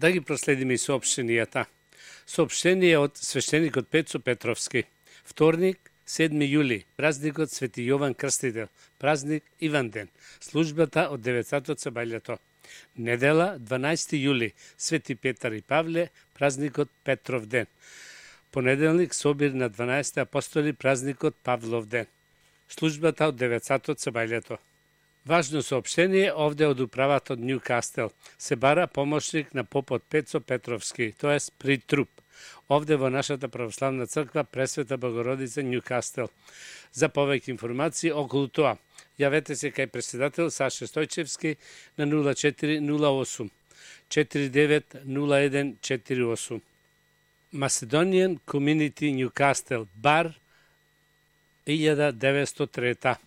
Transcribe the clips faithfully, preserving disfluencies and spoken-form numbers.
Да ги проследиме и соопштенијата. Соопштение од свештеникот Пецо Петровски. Вторник, седми јули, празникот Свети Јован Крстител, празник Иванден, службата од девет сати со бајлето. Недела, дванаести јули, Свети Петар и Павле, празникот Петров ден. Понеделник, собир на дванаесет апостоли, празникот Павлов ден. Службата од девет сати со бајлето. Важно соопштение овде од управата од Нјукастел. Се бара помошник на попот Пецо Петровски, тоест при труп. Овде во нашата православна црква Пресвета Богородица Нјукастел. За повеќе информации околу тоа, јавете се кај председател Саша Стојчевски на нула четири нула осум четири девет нула еден четири осум. Macedonian Community Newcastle, бар илјада деветстотини и трета.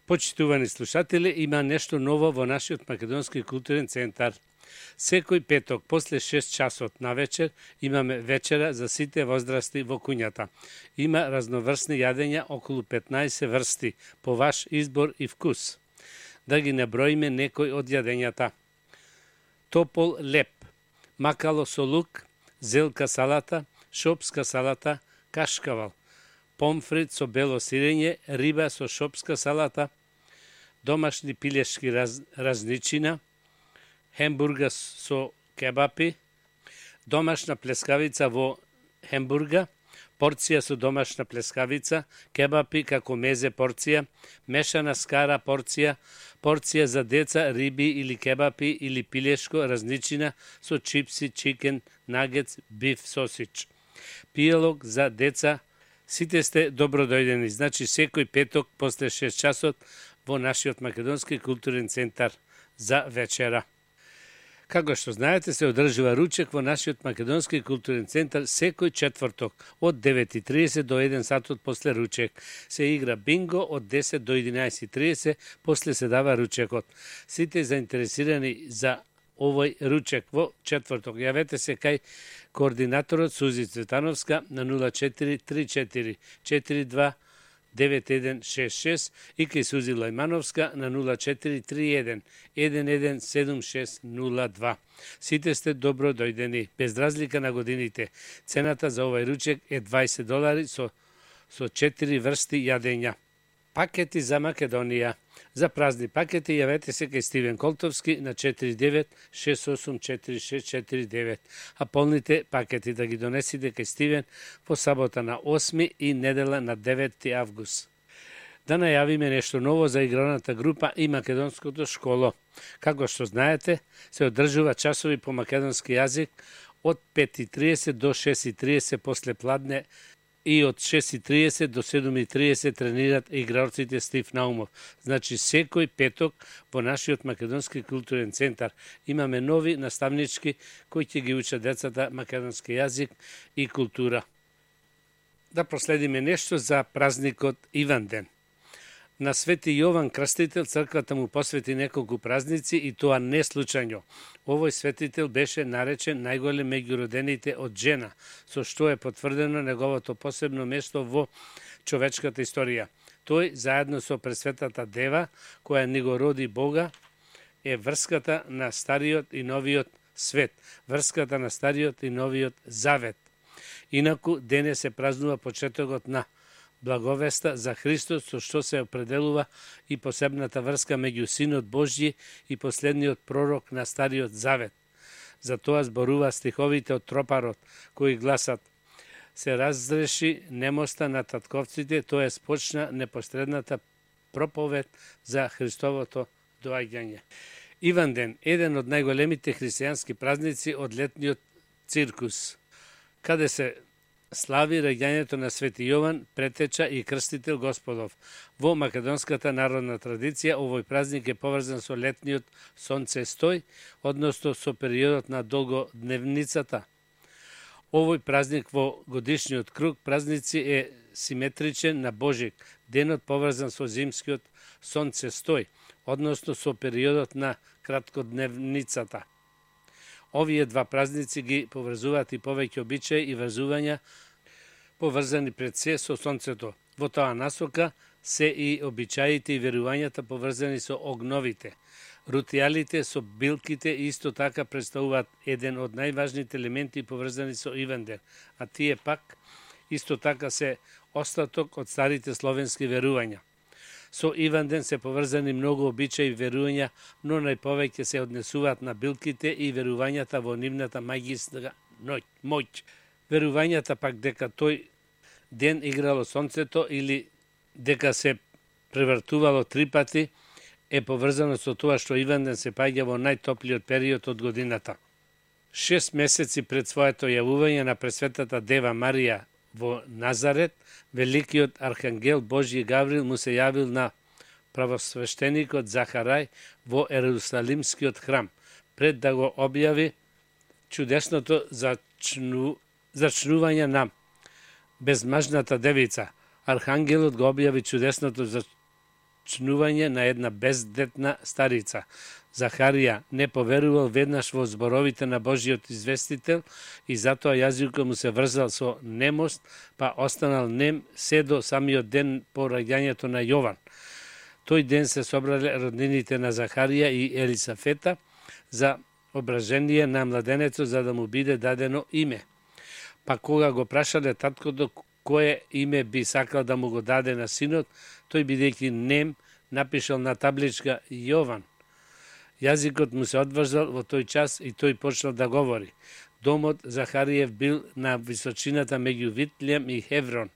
Почитувани слушатели, има нешто ново во нашиот македонски културен центар. Секој петок после шест часот на вечер имаме вечера за сите возрасти во куњата. Има разноврсни јадења, околу петнаесет врсти, по ваш избор и вкус. Да ги наброиме некои од јадењата. Топол леп, макало со лук, зелка салата, шопска салата, кашкавал, помфрит со бело сирење, риба со шопска салата, домашни пилешки раз, разничина, хембурга со кебапи, домашна плескавица во хембурга, порција со домашна плескавица, кебапи како мезе порција, мешана скара порција, порција за деца, риби или кебапи или пилешко разничина со чипси, чикен, нагетс, биф, сосич. Пијалок за деца. Сите сте добродојдени, значи секој петок после шест часот во нашиот македонски културен центар за вечера. Како што знаете, се одржува ручек во нашиот македонски културен центар секој четврток од девет и тридесет до еден сатот после ручек. Се игра бинго од десет до единаесет и тридесет, после се дава ручекот. Сите заинтересирани за овој ручек во четврток, јавете се кај координаторот Сузи Цветановска на нула четири три четири четири два девет еден шест шест и кај Сузи Лајмановска на нула четири три еден еден еден седум шест нула два. Сите сте добро дојдени, без разлика на годините. Цената за овој ручек е дваесет долари со, со четири врсти јадења. Пакети за Македонија. За празни пакети јавете се кај Стивен Колтовски на четири девет шест осум четири шест четири девет, а полните пакети да ги донесите кај Стивен во сабота на осми и недела на деветти август. Да најавиме нешто ново за играната група и македонското школо. Како што знаете, се одржува часови по македонски јазик од пет и тридесет до шест и тридесет после пладне и од шест и тридесет до седум и тридесет тренират играорците Стив Наумов. Значи секој петок во нашиот македонски културен центар имаме нови наставнички кои ќе ги учат децата македонски јазик и култура. Да проследиме нешто за празникот Иванден. На Свети Јован Крстител црквата му посвети неколку празници и тоа не случајно. Овој светител беше наречен најголем меѓу родените од жена, со што е потврдено неговото посебно место во човечката историја. Тој, заедно со Пресветата Дева, која ни го роди Бога, е врската на Стариот и Новиот свет, врската на Стариот и Новиот завет. Инаку, денес се празнува почетокот на благовеста за Христос, со што се определува и посебната врска меѓу Синот Божји и последниот пророк на Стариот Завет. За тоа зборува стиховите од Тропарот, кои гласат: се разреши немоста на татковците, тоа почна непосредната проповед за Христовото доаѓање. Иванден, еден од најголемите христијански празници од летниот циркус, каде се слави раѓањето на Свети Јован, претеча и крстител Господов. Во македонската народна традиција овој празник е поврзан со летниот сонцестој, односно со периодот на долгодневницата. Овој празник во годишниот круг празници е симетричен на Божик, денот поврзан со зимскиот сонцестој, односно со периодот на краткодневницата. Овие два празници ги поврзуваат и повеќе обичаи и врзувања поврзани пред се со сонцето. Во тоа насока се и обичаите и верувањата поврзани со огновите. Рутијалите со билките исто така представуваат еден од најважните елементи поврзани со Иванден, а тие пак исто така се остаток од старите словенски верувања. Со Иванден се поврзани многу обичаи и верувања, но најповеќе се однесуваат на билките и верувањата во нивната магиска моќ. Верувањата пак дека тој ден играло сонцето или дека се превртувало три пати е поврзано со тоа што Иванден се паѓа во најтоплиот период од годината. Шест месеци пред своето јавување на Пресветата Дева Марија во Назарет, великиот архангел Божји Гаврил му се јавил на правосвештеникот Захарај во Ерусалимскиот храм, пред да го објави чудесното зачну... зачнување на безмажната девица. Архангелот го објави чудесното зачнување на една бездетна старица. Захарија не поверувал веднаш во зборовите на Божиот известител и затоа јазикот му се врзал со немост, па останал нем се до самиот ден по раѓањето на Јован. Тој ден се собрале роднините на Захарија и Елисафета за ображение на младенецот за да му биде дадено име. Па кога го прашале таткото кое име би сакал да му го даде на синот, тој бидејќи нем напишал на табличка Јован. Јазикот му се одврзал во тој час и тој почнал да говори. Домот Захариев бил на височината меѓу Витлем и Хеврон.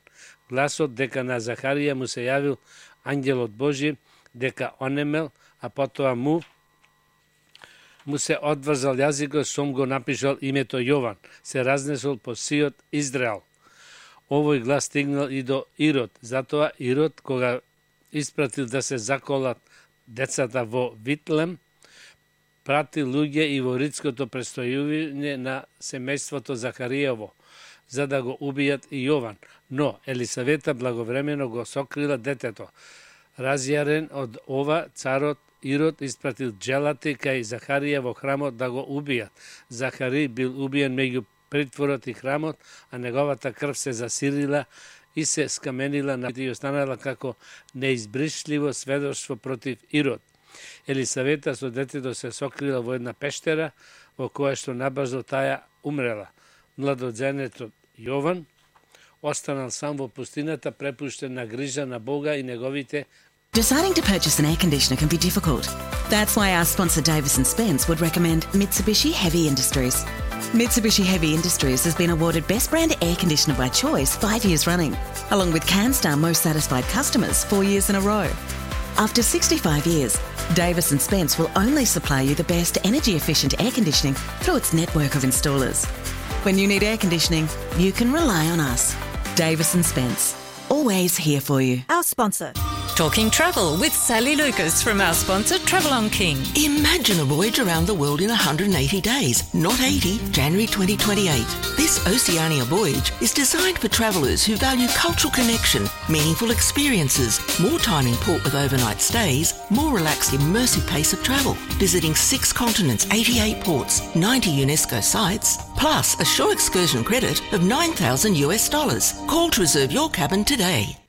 Гласот дека на Захарија му се јавил ангелот Божи, дека онемел, а потоа му му се одврзал јазикот, сом го напишал името Јован, се разнесол по сиот Израел. Овој глас стигнал и до Ирод, затоа Ирод, кога испратил да се заколат децата во Витлем, прати луѓе и во ридското престојување на семејството Захариево, за да го убијат и Јован. Но Елисавета благовремено го сокрила детето. Разјарен од ова, царот Ирод испратил джелати кај Захарија во храмот да го убијат. Захари бил убиен меѓу притворот и храмот, а неговата крв се засирила и се скаменила на и останала како неизбришливо сведоштво против Ирод. Елисавета со детето се сокрила во една пештера, во која што набрзо таја умрела. Младоđенецот Јован останал сам во пустината, препуштен на грижа на Бога и неговите. Deciding to purchase an air conditioner can be difficult. That's why our sponsor Davis and Spence would recommend Mitsubishi Heavy Industries. Mitsubishi Heavy Industries has been awarded Best Brand Air Conditioner by Choice five years running, along with CanStar Most Satisfied Customers four years in a row. After sixty-five years, Davis and Spence will only supply you the best energy-efficient air conditioning through its network of installers. When you need air conditioning, you can rely on us. Davis and Spence, always here for you. Our sponsor. Talking travel with Sally Lucas from our sponsor Travel on King. Imagine a voyage around the world in one hundred eighty days, not eighty, January twenty twenty-eight. This Oceania voyage is designed for travellers who value cultural connection, meaningful experiences, more time in port with overnight stays, more relaxed immersive pace of travel, visiting six continents, eighty-eight ports, ninety UNESCO sites, plus a shore excursion credit of nine thousand US dollars. Call to reserve your cabin today.